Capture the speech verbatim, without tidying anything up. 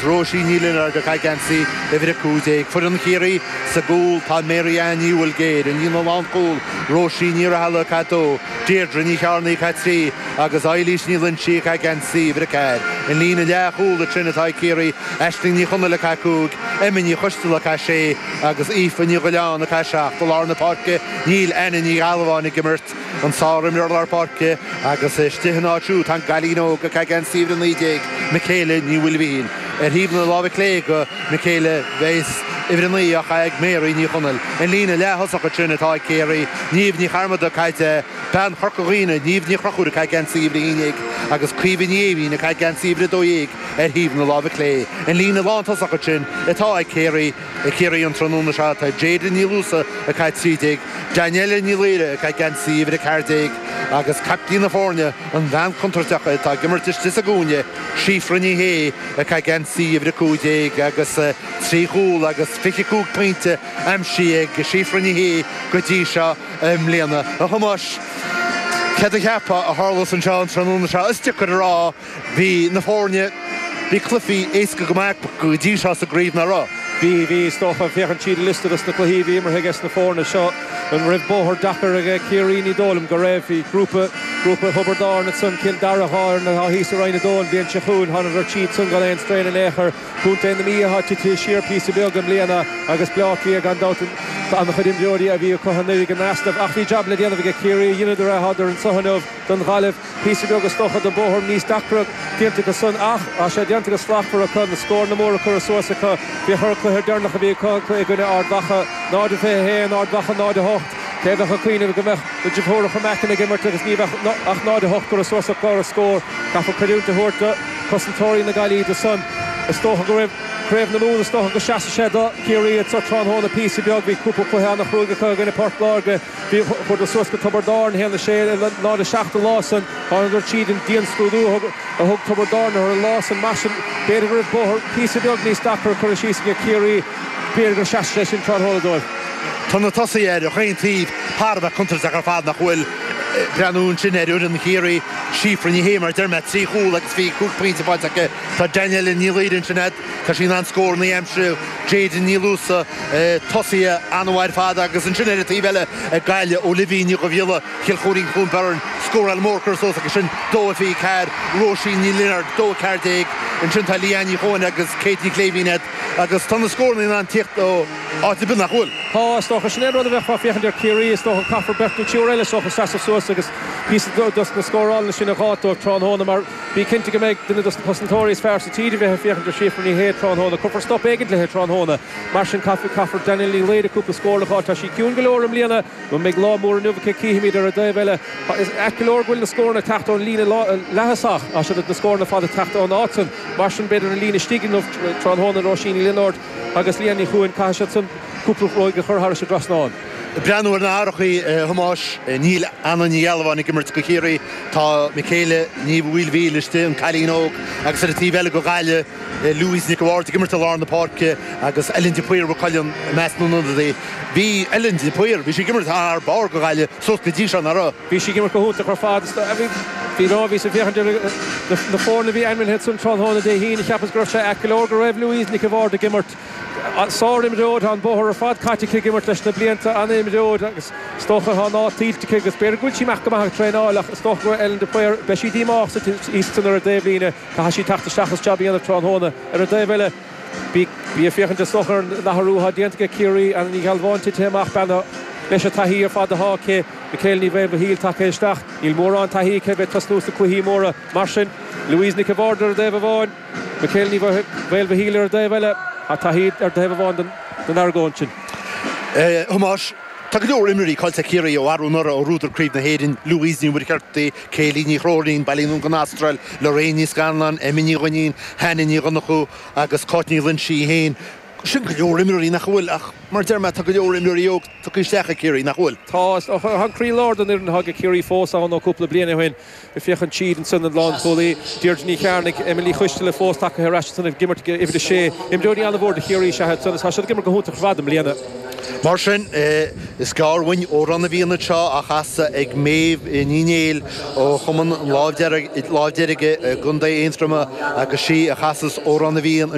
Róisín Ní Lionáird ag caitheamh geansaí uimhir a cúig déag. Foireann Chiarraí sa gcúl tá Mary Ann Ní Bhuilgéir, an líne lánchúil, Róisín Ní Rathaille ag caitheamh a dó, Deirdre Ní Chearnaigh ag caitheamh a trí agus Eilís Ní Loinsigh ag caitheamh geansaí uimhir a ceathair. An líne leathchúil ansin atá ag Ciarraí, Aisling Ní Chonaill ag caitheamh a cúig, Emma Ní Choisteala ag caitheamh a sé agus Aoife Ní Ghoileáin ag caitheamh a seacht. I lár na páirce níl Anna Ní Ghealbháin ag imirt. An sárimreoir lár páirce agus istigh ina áit siúd tá an cailín óg ag caitheamh geansaí uimhir a naoi déag, Michaela Ní Mhaoilmhichíl. Ar thaobh na láimhe clé go Michaela bheas uimhir a naoi á chaitheamh ag Mary Ní Chonaill. An líne leath-thosach ansin atá ag Ciarraí, Niamh Ní Chearmada ag caitheamh a deich, bean Chorca Dhuibhne, Niamh Ní Chonchúir ag caitheamh geansaí uimhir a haon déag agus Caoimhe Ní Éimhín ag caitheamh geansaí uimhir a dó dhéag ar thaobh na láimhe clé. An líne lántosach ansin atá ag Ciarraí, ag Ciarraí an tráthnóna seo tá Jada Ní Luasa ag caitheamh trí déag, Danielle Ní Laoire ag caitheamh geansaí uimhir a ceathair déag agus caiptín na foirne, an bhean chontúirteach atá ag imirt istigh sa gcúinne, Síofra Ní Shé ag caitheamh geansaí uimhir a cúig déag agus trí chúl agus fiche cúig pointe aimsithe ag Síofra Ní Shé go dtí seo i mbliana. A Thomáis, céard a cheapfá a tharlós anseo an tráthnóna seo? Is deacair a rá. Bhí na foirne, bhí cluichí éasca go maith acu go dtí seo sa gcraobh, nach raibh? Bhí, bhí, is dócha. Féachaint tríd an liosta dos na cluichí a bhí imeartha ages na foirne seo, an raibh bóthar deacair aige Ciarraí? Ní dóigh liom go raibh. Bhí grúpa, grúpa Thiobraid Árann ansan, Cill Dara, dhá fhoireann atá thíos i Roinn a Dó an bhliain seo chugainn, thánadar tríd san gan aon straon in aon chor. Contae na Mí atá titithe siar píosa beag i mbliana agus Bleá Cliath gan dabht an-chuid imreoirí a bhí acu anuraidh in easnamh ach bhí jab le déanamh aige Ciarraí, dheineadar é, thádar anso inniu don Ghaillimh. Píosa beag is dócha den bóthar níos deacra déanta acu san ach tá sé déanta go slachtmhar acu, na scóranna móra curtha suas acu. Féach ar an cluiche deireanach a bhí acu i gcoinne Ard Mhacha, náid a fiche a haon, Ard Mhacha náid a hocht. Cé a bheadh ag cuimhneamh go mbeadh na deartháireacha Mackin ag imirt agus ní bheadh ach náid a hocht curtha suas acu ar an scór. Caithfear creidiúint a thabhairt do chosantóirí na Gaillimhe do san. Is dócha go raibh Craobh na Mumhan, is dócha go seasfaidh sé do Chiarraí anso tráthnóna píosa beag. Bhí cúpla cluiche an-chruaidh acu i gcoinne Port Láirge. Bhí chuadar suas go Tiobraid Árann, a haon a sé, náid a seacht an lá san. Thánadar tríd an dianscrúdú a thug a thug Tiobraid Árann orthu an lá san. Mar sin, b'fhéidir go raibh bóthar píosa beag níos deacra curtha síos aige Ciarraí. B'fhéidir go seasfaidh sé sin tráthnóna dóibh. Tá na tosaithe ar chaon taobh thar a bheith contúirteach ar fad, nach bhfuil? Breathnú ansin ar fhoireann Chiarraí, Síofra Ní Shé, mar a deir mé, trí chúl agus fiche cúig pointe faighte aici. Tá Danielle Ní Laoire ansin agat, tá sí in ann scóranna a aimsiú. Jada Ní Luasa, tosaithe an-mhaith ar fad agus ansin ar an taobh eile ag Gaillimh, Olivia Ní Dhubhghiolla, Chill Choirín Cluain Bheirn, scóráil mór curtha suas aici sin, dó a fiche ceathair, Róisín Ní Lionáird, dó a ceathair déag, ansin tá Leanne Ní Chuain agus Kate Ní Chléibhín agat agus tá na scóranna in ann tíocht ó áit ar bith nach bhfuil? Tá, is dócha. Sin é an rud a bheifeá ag féachaint ar Ciarraí, is dócha. Caithfear beirt nó triúr eile, is dócha, seasamh suas agus píosa dos na scórálanna sin a dh'fháilt dóibh tráthnóna mar bí cinnte go mbeidh duine dos na cosantóirí is fearr sa tír a bheith ag féachaint ar Síofra Ní Shé tráthnóna. Cuirfear stop éigin léi tráthnóna. Mar sin caithfidh, caithfear Danielle Ní Laoire cúpla scór a dh'fháil. Tá sí ciúin go leor i mbliana. An mbeidh lá mór inniu aici? Cífimid. Ar an dtaobh eile, is ait go leor go bhfuil na scóranna ag teacht ón líne leath-thosach. Tá siad, na scóranna ar fad ag teacht ón áit san. Mar sin b'fhéidir an líne istigh inniu tráthnóna, Róisín Ní Lionáird agus Leanne Ní Chuain, caithfidh siad san cúpla ruaig a chur thairis an dtrasnán. Breathnú ar na hathruithe, a Thomáis, níl Anna Ní Ghealbháin ag imirt do Chiarraí. Tá Michaela Ní Mhaoilmhíl istigh, an cailín óg, agus ar an taobh eile do Ghaillimh, Louise Nic a' Bhaird ag imirt i lár na páirce agus Ellen de Paor Mhaigh Cuilinn i measc na n-ionadaí. Bhí Ellen de Paor, bhí sí ag imirt thar barr do Ghaillimh suas go dtí seo, nach raibh? Bhí sí ag imirt go hiontach ar fad. Bhí nó bhíos ag féachaint ar na foirne a bhí ainmnithe ansan tráthnóna Dé hAoine, cheapas go raibh sé ait go leor go raibh Louise Nic a' Bhaird ag imirt. Sár-imreoir, tá an bóthar ar fad caite aici ag imirt leis na blianta, an-imreoir agus is dócha tá an áit tuillte aici agus b'fhéidir go bhfuil sí amach go maith ag traenáil ach is dócha go raibh Ellen de Paor, beidh sí díomách sa thíos ansan ar an dtaobhlíne, caithfidh sí teacht isteach is jab a dhéanamh tráthnóna. Ar an dtaobh eile, bí bí ag féachaint is dócha ar an athrú atá déanta aige Ciarraí, Anna Ní Ghealbháin titithe amach, bean leis an taithí ar fad atá aici, Michaela Ní Mhaolmhichíl tagtha isteach, níl mórán taithí aici a bheith ag tosnú sna cluichí móra, mar sin, Louise Nic a' Bhaird ar an dtaobh amháin, Michaela Ní Mhaolmhichíl ar an dtaobh eile, tá taithí ar thaobh amháin den argóint sin. A Thomáis, tá go leor imreoirí caillte ag Ciarraí ó arú anuraidh ó bhuadar Craobh na hÉireann, Louise Ní Mhuircheartaigh, Kayleigh Ní Chróinín, bailithe anonn gon Astráil, Lorraine Ní Scanláin, Emma Ní Dhuinnín, Hannah Ní Dhonnchú agus Cáit Ní Loinsigh í féin. Sin go leor imreoirí nach bhfuil ach mar a deir mé tá go leor imreoirí óg tugtha isteach ag Ciarraí, nach bhfuil? Tá, is dócha. Tá an croílár den fhoireann atá ag Ciarraí fós ann ó cúpla bliain ó shin. Ag féachaint tríd ansan an lánchúlaí, Deirdre Ní Chearnaigh, Emma Ní Choisteala fós tagtha ar ais ansan ag imirt ag uimhir a sé. Imreoirí an-mhór do Chiarraí is ea iad san agus tá siad ag imirt go hiontach ar fad i mbliana. Mar sin is gearr uainn Amhrán na bhFiann seo á chasadh ag Méabh Ní Néill ó Chumann Lámh Deirge i gContae Aontroma agus sí a chasas Amhrán na bhFiann.